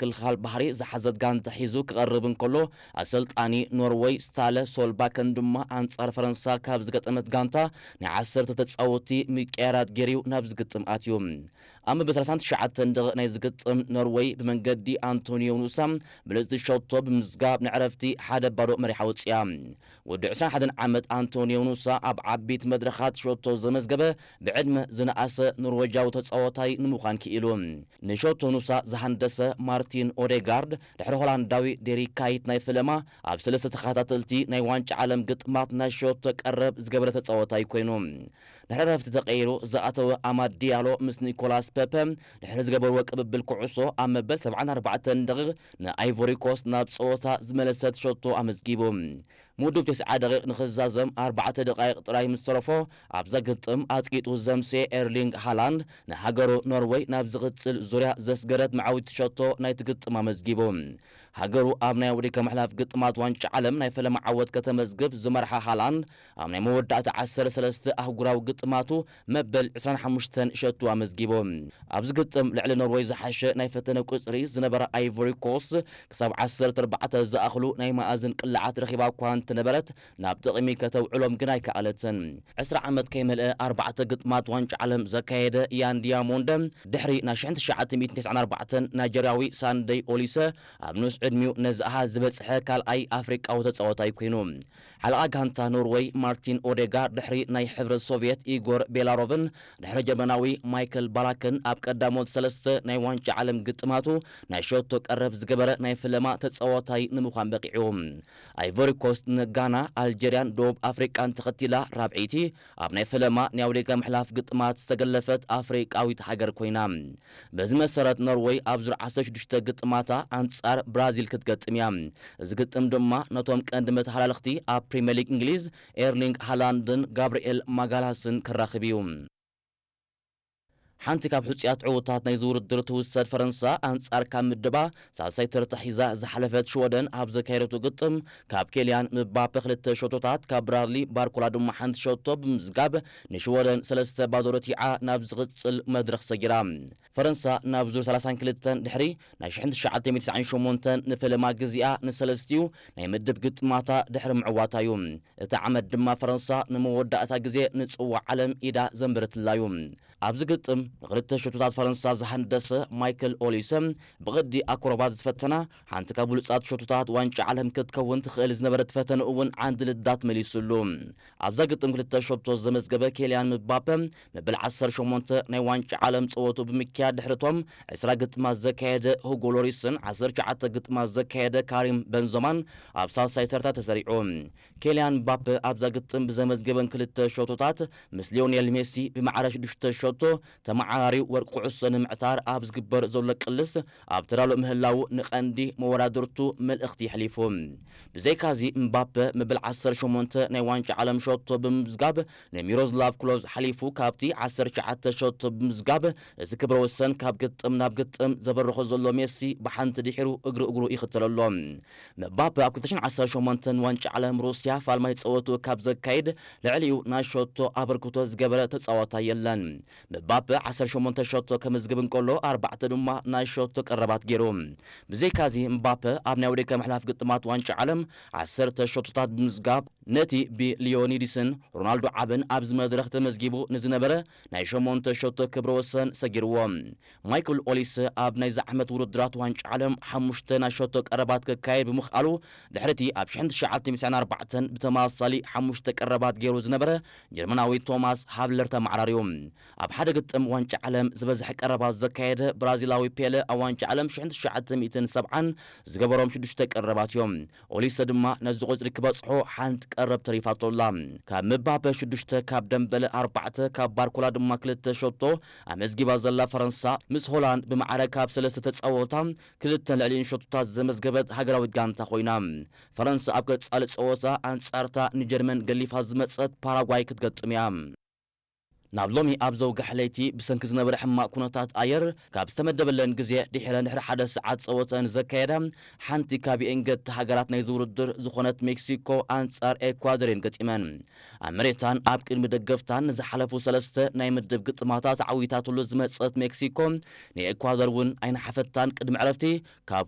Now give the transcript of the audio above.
ምክልኻል ባሕሪ ዝሓዘት ጋንታ ሒዙ ክቐርብ እንከሎ፣ ኣሰልጣኒ ኖርወይ ስታለ ሶልባከን ድማ ኣንጻር ፈረንሳ ካብ ዝገጠመት ጋንታ ናይ ዓሰርተ ተጻወትቲ ምቅያራት ገይሩ ናብ ዝግጥም ኣትዩ። ኣብ መበል ሰላሳን ትሽዓተን ደቂቕ ናይ ዝግጥም ኖርወይ ብመንገዲ ኣንቶኒዮ ኑሳ ብልጽቲ ሸቶ ብምዝጋብ ንዕረፍቲ ሓደ ባዶ መሪሓ ወጽያ። ወዲ ዕስራን ሓደን ዓመት ኣንቶኒዮ ኑሳ ኣብ ዓቢት መድረኻት ሸቶ ዘመዝገበ ብዕድመ ዝነኣሰ ኖርወጃዊ ተጻዋታይ ንምዃን ክኢሉ። ንሸቶ ኑሳ ዝሃንደሰ ማርቲን ኦዴጋርድ ድሕሪ ሆላንዳዊ ዴሪክ ካይት ናይ ፈለማ ኣብ ሰለስተ ተኸታተልቲ ናይ ዋንጫ ዓለም ግጥማት ናይ ሸቶ ቀረብ ዝገበረ ተጻዋታይ ኮይኑ። ድሕሪ ረፍቲ ተቐይሩ ዝኣተወ ኣማድ ዲያሎ ምስ ኒኮላስ ፐፐ ድሕሪ ዝገበርዎ ቅብብል ኩዕሶ ኣብ መበል ሰብዓን ኣርባዕተን ደቂቕ ንኣይቮሪ ኮስት ናብ ጸወታ ዝመለሰት ሸቶ ኣመዝጊቡ። ምውድብ ተስዓ ደቂቕ ንኽዛዘም ኣርባዕተ ደቃይቕ ጥራይ ምስ ተረፎ ኣብዛ ግጥም ኣጽቂጡ ዘምሴ ኤርሊንግ ሃላንድ ንሃገሩ ኖርወይ ናብ ዝቕጽል ዙርያ ዘስገረት መዓዊቲ ሸቶ ናይቲ ግጥም ኣመዝጊቡ። ሃገሩ ኣብ ናይ ወዲከ ምሕላፍ ግጥማት ዋንጫ ዓለም ናይ ፈለማ ዓወት ከተመዝግብ ዝመርሓ ሃላንድ ኣብ ናይ መወዳእታ ዓሰርተ ሰለስተ ኣህጉራዊ ግጥማቱ መበል ዕስራን ሓሙሽተን ሸቱ ኣመዝጊቡ። ኣብዚ ግጥም ልዕሊ ኖርወይ ዝሓሸ ናይ ፈተነ ቁጽሪ ዝነበራ ኣይቮሪ ኮስት ክሳብ ዓሰርተ ኣርባዕተ ዝኣኽሉ ናይ መኣዝን ቅላዓት ረኺባ እኳ እንተነበረት ናብ ጥቕሚ ከተውዕሎም ግን ኣይከኣለትን። ዕስራ ዓመት ከይመልአ ኣርባዕተ ግጥማት ዋንጫ ዓለም ዘካየደ ያን ዲያሞንደ ድሕሪ ናይ ሽሕን ትሽዓተ ሚእትን ተስዓን ኣርባዕተን ናይጀርያዊ ሳንደይ ኦሊሰ ኣብ ንኡስ ዕድሚኡ ነዚ ኣሃዝ ዝበጽሐ ካልኣይ ኣፍሪቃዊ ተጻዋታይ ኮይኑ። ሓለቓ ጋንታ ኖርወይ ማርቲን ኦዴጋርድ ድሕሪ ናይ ሕብረት ሶቭየት ኢጎር ቤላሮቭን ድሕሪ ጀርመናዊ ማይክል ባላክን ኣብ ቀዳሞት ሰለስተ ናይ ዋንጫ ዓለም ግጥማቱ ናይ ሸቶ ቀረብ ዝገበረ ናይ ፈለማ ተጻዋታይ ንምዃን በቂዑ። ኣይቮሪ ኮስት ንጋና፣ ኣልጀርያን ደቡብ ኣፍሪቃን ተኸቲላ ራብዐይቲ ኣብ ናይ ፈለማ ናይ ኣውዴጋ ምሕላፍ ግጥማት ዝተገለፈት ኣፍሪቃዊት ሃገር ኮይና። በዚ መሰረት ኖርወይ ኣብ ዙር ዓሰርተ ሽዱሽተ ግጥማታ ኣንጻር ብራዚል ክትገጥም እያ። እዚ ግጥም ድማ ነቶም ቀንዲ መተሃላለኽቲ ኣብ ፕሪምየር ሊግ እንግሊዝ ኤርሊንግ ሃላንድን ጋብርኤል ማጋላስን ከራኽብ እዩ። ሓንቲ ካብ ሕጹያት ዕዉታት ናይዚ ውድድር ትውሰድ ፈረንሳ ኣንጻር ካብ ምድባ ሳልሳይ ተርታ ሒዛ ዝሓለፈት ሽወደን ኣብ ዘካየደቱ ግጥም ካብ ኬልያን ምባፔ ክልተ ሸቶታት ካብ ብራድሊ ባርኮላ ድማ ሓንቲ ሸቶ ብምዝጋብ ንሽወደን ሰለስተ ባዶ ረቲዓ ናብ ዝቕጽል መድረኽ ሰጊራ። ፈረንሳ ናብ ዙር ሰላሳን ክልተን ድሕሪ ናይ ሽሕን ትሽዓተ ሚእትን ትስዓን ሸሞንተን ንፈለማ ግዜኣ ንሰለስቲኡ ናይ ምድብ ግጥማታ ድሕሪ ምዕዋታ እዩ። እቲ ዓመት ድማ ፈረንሳ ንመወዳእታ ግዜ ንጽዋዕ ዓለም ኢዳ ዘንበረትላ እዩ። ኣብዚ ግጥም ንክልተ ሸቶታት ፈረንሳ ዝሃንደሰ ማይክል ኦሊሰ ብቕዲ ኣክሮባት ዝፈተና ሓንቲ ካብ ብሉጻት ሸቶታት ዋንጫ ዓለም ክትከውን ትኽእል ዝነበረት ፈተነ እውን ዓንዲ ልዳት መሊሱሉ። ኣብዛ ግጥም ክልተ ሸቶ ዘመዝገበ ኬልያን ምባፐ መበል ዓሰርተ ሸሞንተ ናይ ዋንጫ ዓለም ጸወቱ ብምክያድ ድሕሪቶም ዕስራ ግጥማት ዘካየደ ሁጎ ሎሪስን ዓሰርተ ትሽዓተ ግጥማት ዘካየደ ካሪም በንዞማን ኣብ ሳልሳይ ተርታ ተሰሪዑ። ኬልያን ምባፐ ኣብዛ ግጥም ብዘመዝገበን ክልተ ሸቶታት ምስ ሊዮኔል ሜሲ ብማዕረ ሽዱሽተ ሸቶ ተመዓራሪው ወርቂ ኩዕሶ ንምዕታር ኣብ ዝግበር ዘሎ ቅልስ ኣብ ተዳሎ ምህላዉ ንቐንዲ መወዳድርቱ መልእኽቲ የሕሊፉ። ብዘይካዚ ምባፐ መበል ዓሰርተ ሸሞንተ ናይ ዋንጫ ዓለም ሸቶ ብምምዝጋብ ንሚሮስላቭ ክሎዝ ሓሊፉ ካብቲ ዓሰርተ ትሽዓተ ሸቶ ብምምዝጋብ እዚ ክብረ ወሰን ካብ ግጥም ናብ ግጥም ዘበርኾ ዘሎ ሜሲ ብሓንቲ ድሒሩ እግሪ እግሩ ይኽተሎ ኣሎ። ምባፐ ኣብ ክልተ ሽሕን ዓሰርተ ሸሞንተን ዋንጫ ዓለም ሩስያ ፋልማይ ጸወቱ ካብ ዘካይድ ልዕሊኡ ናይ ሸቶ ኣበርክቶ ዝገበረ ተጻዋታይ የለን። ምባፐ ዓሰርተ ሸሞንተ ሸቶ ከመዝግብ እንከሎ ኣርባዕተ ድማ ናይ ሸቶ ቀረባት ገይሩ። ብዘይካዚ ምባፐ ኣብ ናይ ወደቀ ምሕላፍ ግጥማት ዋንጫ ዓለም ዓሰርተ ሸቶታት ብምዝጋብ ነቲ ብሊዮኒዲስን ሮናልዶ ዓብን ኣብዚ መድረኽ ተመዝጊቡ ንዝነበረ ናይ ሸሞንተ ሸቶ ክብረ ወሰን ሰጊርዎ። ማይክል ኦሊሰ ኣብ ናይዚ ዓመት ውድድራት ዋንጫ ዓለም ሓሙሽተ ናይ ሸቶ ቀረባት ከካየድ ብምኽኣሉ ድሕሪቲ ኣብ ሽሕን ትሽዓተ ሚእትን ኣርባዕተን ብተመሳሳሊ ሓሙሽተ ቀረባት ገይሩ ዝነበረ ጀርመናዊ ቶማስ ሃብለር ተመዓራርዩ። ኣብ ሓደ ግጥም ዋንጫ ዓለም ዝበዝሐ ቀረባት ዘካየደ ብራዚላዊ ፔለ ኣብ ዋንጫ ዓለም ሽሕን ትሽዓተ ሚእትን ሰብዓን ዝገበሮም ሽዱሽተ ቀረባት እዮም። ኦሊሰ ድማ ነዚ ቁጽሪ ክበጽሖ ሓንቲ ቀረብ ተሪፋቶ ኣላ። ካብ ምባፐ ሽዱሽተ፣ ካብ ደምበለ ኣርባዕተ፣ ካብ ባርኮላ ድማ ክልተ ሸቶ ኣመዝጊባ ዘላ ፈረንሳ ምስ ሆላንድ ብማዕረ ካብ ሰለስተ ተጻወታ ክልተን ልዕሊኡን ሸቶታት ዘመዝገበት ሃገራዊት ጋንታ ኮይና። ፈረንሳ ኣብ ቀጻሊ ጸወታ ኣንጻርታ ንጀርመን ገሊፋ ዝመጸት ፓራጓይ ክትገጥም እያ። ናብ ሎሚ ኣብ ዘውግሐ ለይቲ ብሰንኪ ዝነበረ ሕማቕ ኩነታት ኣየር ካብ ዝተመደበለን ግዜ ድሒረን ድሕሪ ሓደ ሰዓት ጸወተን ዘካየዳ ሓንቲ ካብ የእንገድቲ ሃገራት ናይዚ ውድድር ዝኾነት ሜክሲኮ ኣንጻር ኤኳዶር እየን ገጢመን። ኣብ መሬታን ኣብ ቅድሚ ደገፍታን ንዝሓለፉ ሰለስተ ናይ ምድብ ግጥማታት ዓዊታትሉ ዝመጸት ሜክሲኮ ንኤኳዶር እውን ኣይነሓፈታን። ቅድሚ ዕረፍቲ ካብ